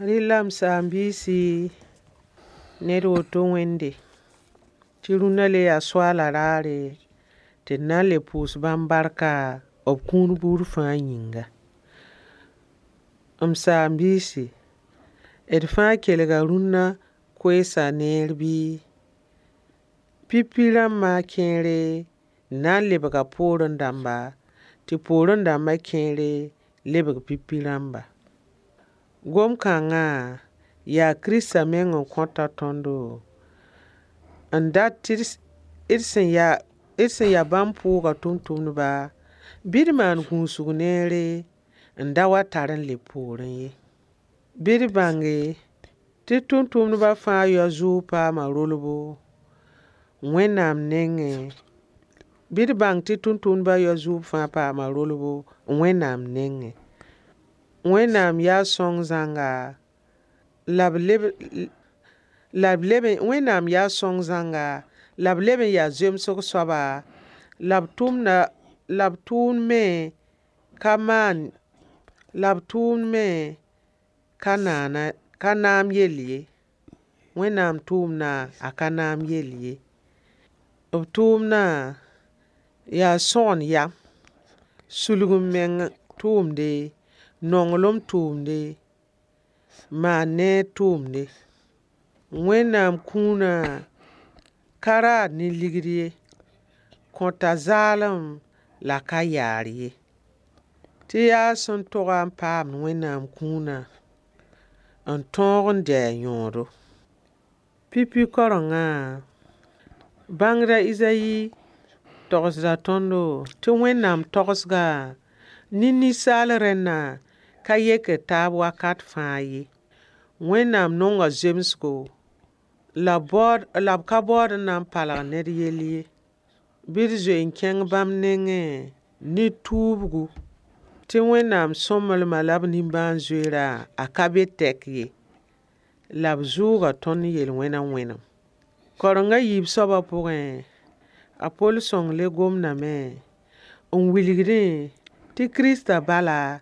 Rɩla m saam-biisi, ned woto wẽnde tɩ rũnna le yaa soaala raare tɩ d na n le pʋʋs bãmb barka b kũun buud fãa yĩnga. M saam-biisi, d fãa kelga rũnna koeesa neer bɩ? Pipi rãmbã kẽere na n lebga poorẽ dãmba, tɩ poorẽ dãmba kẽere lebg pipi rãmba. Gom-kãngã yaa Kiristã meng n kõta tõndo n dat tɩ d sẽn ya bãmb pʋʋgã tʋmtʋmdba, bɩ d maan gũusg neere n da wa tar n leb poorẽ ye. Bɩ d bãnge tɩ tʋmtʋmdbã fãa yao zʋʋg paama rolbo Wẽnnaam nengẽ. Bɩ d bãng tɩ tʋmtʋmdbã yao zʋʋg fãa paama rolbo Wẽnnaam nengẽ. Wẽnnaam yaa sõng zãnga la b leb la b leb Wẽnnaam yaa sõng zãnga la b leb n yaa zemsg soaba, la b tʋmda la b tʋʋmd me ka maan la b tʋʋmd me ka naana ka naam yell ye. Wẽnnaam tʋʋmdã a ka naam yell ye. B tʋʋmdã yaa sõgen yam, sulg-m-meng tʋʋmde, nonglem tʋʋmde, maan neer tʋʋmde. Wẽnnaam kũunã ka raad ne ligd ye, kõta zaalem la ka yaar ye. Tɩ yaa sẽn toga n paamd Wẽnnaam kũunã n tõog n dɩ a yõodo. Pipi kaorengã, bãngd a Izayi togsda tõndo tɩ Wẽnnaam togsga ne ninsaal rẽnna ka yekd taab wakat fãa ye. Wẽnnaam nonga zemsgo la baood la b ka baood n na n palg ned yell ye. Bɩ d zoe n kẽng bãmb nengẽ ne tuubgu tɩ Wẽnnaam sõmblema la b nimbãan-zoeerã a ka be tɛk ye. La b zʋʋga tõnd yel-wẽna wẽnem. Kaoreng a yiib soabã pʋgẽ, a Pol sõng le gomdame n wilgdẽ tɩ Kiristã bala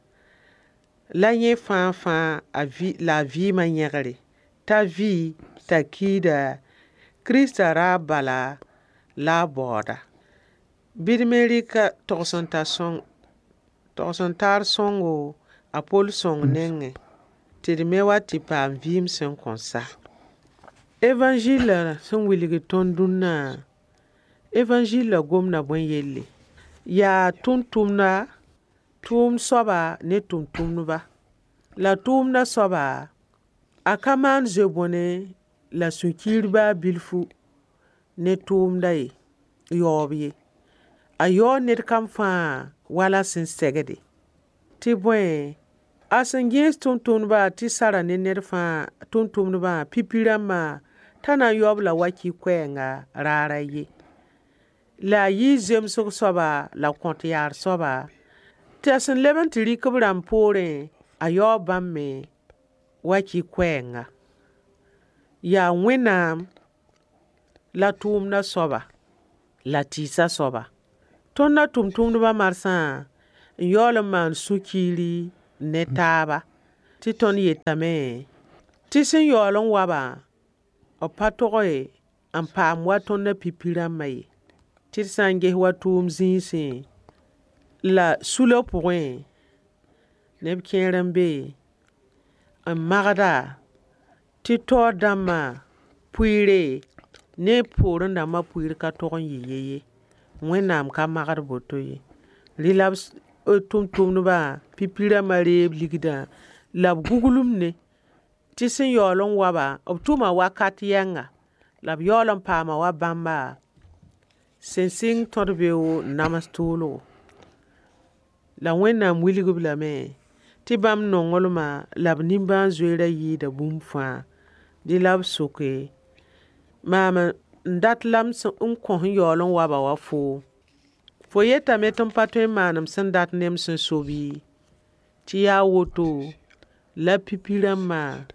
la yẽ fãa-fãa la a vɩɩmã yẽgre, t'a vɩ t'a kiida, Kiristã raab bala la a baooda. Bɩ d me rɩk togs-n-taar sõngo a Pol sõng nengẽ tɩ d me wa tɩ paam vɩɩm sẽn kõn sa. Evanzil sẽn wilgd tõnd dũnna, evanzillã gomda bõe yelle? Yaa tʋmtʋmda, tʋʋmd soaba ne tʋmtʋmdba. La tʋʋmdã soaba, a ka maan zoe-bõne la sũ-kiir baa bilfu ne tʋʋmdã ye, yaoob ye. A yaoog ned kam fãa wala sẽn segde. Tɩ bõe, a sẽn gẽes tʋmtʋmdbã tɩ sara ne ned fãa, tʋmtʋmdbã, pipi rãmbã, t'a na n yao-b la waki-koɛɛnga raar a ye. La a yɩɩ zemsg soaba la kõt yaar soaba, t'a sẽn leb n tɩ rɩk b rãmb poorẽ, a yaoo bãmb me waki-koɛɛnga. Yaa Wẽnnaam la tʋʋmdã soaba la tɩɩsã soaba. Tõndã tʋmtʋmdbã marsã n yaool n maan sũ-kiiri ne taaba tɩ tõnd yetame tɩ sẽn yaool n wa-bã, b pa tog n paam wa tõndã pipi rãmbã ye. Tɩ d sã n ges wa tʋʋm zĩisẽ la sulã pʋgẽ, neb kẽer n be n magda tɩ taoor dãmbã pʋɩɩre ne poorẽ dãmbã pʋɩɩr ka tog n yɩ ye ye. Wẽnnaam ka magd boto ye. Rẽ la b tʋmtʋmdbã, pipi rãmbã reeb ligdã la b guglemde tɩ sẽn yaool n wa-ba, b tʋma wakat yɛnga la b yaool n paama wa bãmba sẽn sɩng tõd-beoog n nams tʋʋlgo. La Wẽnnaam wilg-b lame tɩ bãmb nonglmã la b nimbãan-zoeerã yɩɩda bũmb fãa. Dẽ la b soke maam n dat la m kõ sẽn yaool n wa-ba wa foom. Fo yetame tɩ m pa tõe n maan m sẽn dat ne m sẽn so bɩ? Tɩ yaa woto la pipi rãmbã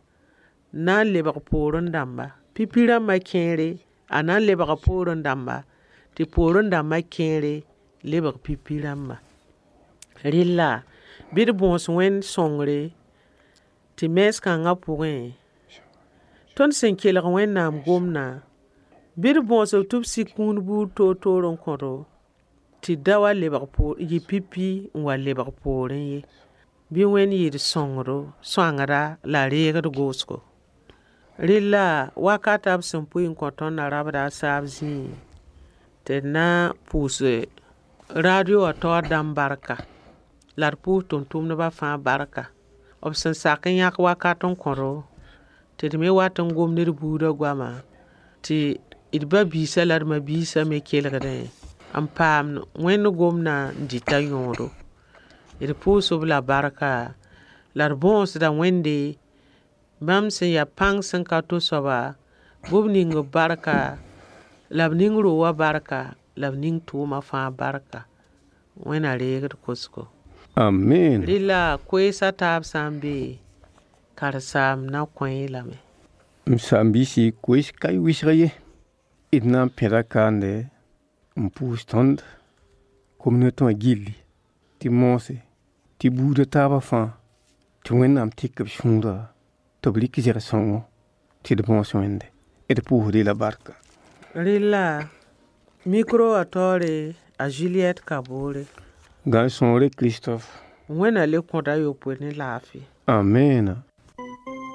na n lebg poorẽ dãmba. Pipi rãmbã kẽere, a na n lebga poorẽ dãmba, tɩ poorẽ dãmbã kẽere lebg pipi rãmba. Rella, bɩ d bõos Wẽnd sõngre. Tɩ mens kãngã pʋgẽ, tõnd sẽn kelg Wẽnnaam gomdã, bɩ d bõosb tɩ b sik kũun buud toor-toor n kõdo, tɩ da wa lebg yɩ pipi n wa lebg poorẽ ye. Bɩ Wẽnd yɩ d sõngdo, sõangda la reegd goosgo. Rella wakata b sẽn pʋɩ n kõ tõnd na rabda a saab zĩig tɩ d na pʋʋs radio wã taoor dãmb barka la d pʋʋs tʋm-tʋmdbã fãa barka. B sẽn sak n yãk wakat n kõdo tɩ d me wat n gom ne d buudã goama tɩ d ba-biisã la d ma-biisã me kelgdẽ n paam Wẽnd gomdã n dɩta yõodo. D pʋʋs-b la barka la d bõosda Wẽnde bãmb sẽn yaa pãng sẽn ka to soaba bɩ b ning b barka la b ning ro wã barka la b ning tʋʋma fãa barka. Wẽnna reeg d kosgo. Amen. Rɩla koeesã taab sã n be karen-saam na kõ-y lame. M saam-biisi, koees ka y wɩsg ye. D na n pẽda kaande n pʋʋs tõnd communauté wã gilli tɩ moose tɩ buudã taabã fãa tɩ Wẽnnaam tɩk b sũurã tɩ b rɩk zɛg-sõngo tɩ d bõos Wẽnde. D pʋʋsd-y la barka. Rɩla micro wã taoore a Juliette Kabore. Gãn sõore Christophe. Wẽnna le kõda yopoe ne laafɩ. Amena.